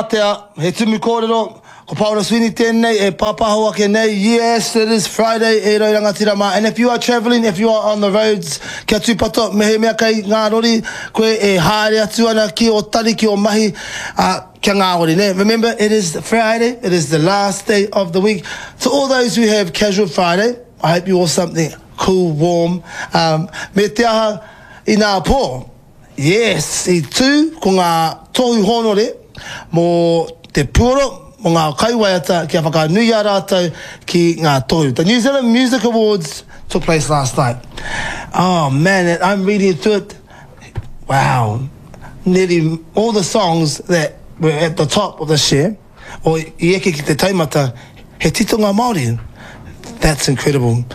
Atea, he tumu kōrero, ko Paora Sweeney tēnei e pāpāho ake nei, yes, it is Friday e rau rangatira mā, and if you are travelling, if you are on the roads, kia tūpato, mehemea kei ngā rori, koe e haere atu ana ki ō tari, ki ō mahi, ā, kia ngāwari, nē? Remember, it is Friday, it is the last day of the week. To all those who have casual Friday, I hope you wore something cool, warm, um, me te aha, inā pō, Yes, i tū ko ngā tohu hōnore mō te puoro, mō ngā kaiwaiata kia whakanuia rātou ki ngā tohu. The New Zealand Music Awards took place last night. Oh man, I'm reading through it. Wow. Nearly all the songs that were at the top of this year, or i eke ki te taumata, he titonga Māori. That's incredible.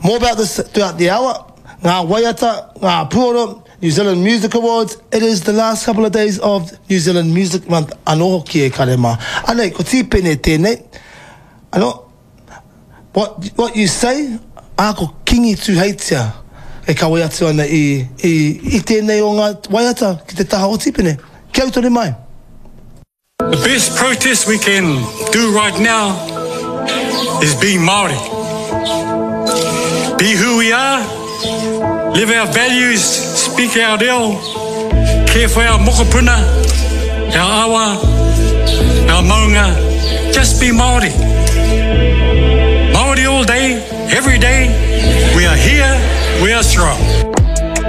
More about this throughout the hour. Ngā waiata, ngā puoro, New Zealand Music Awards, it is the last couple of days of New Zealand Music Month anō hoki e kare mā. Anei, ko Tīpene tēnei. Anō, what, what you say, ā, ko Kingi Tūheitia e kawe atu ana i, i, i tēnei o ngā waiata ki te taha o Tīpene. Kia ū tonu mai. The best protest we can do right now is be Māori. Be who we are, live our values, speak our reo, care for our mokopuna, our awa, our maunga. Just be Māori. Māori all day, every day. We are here, we are strong.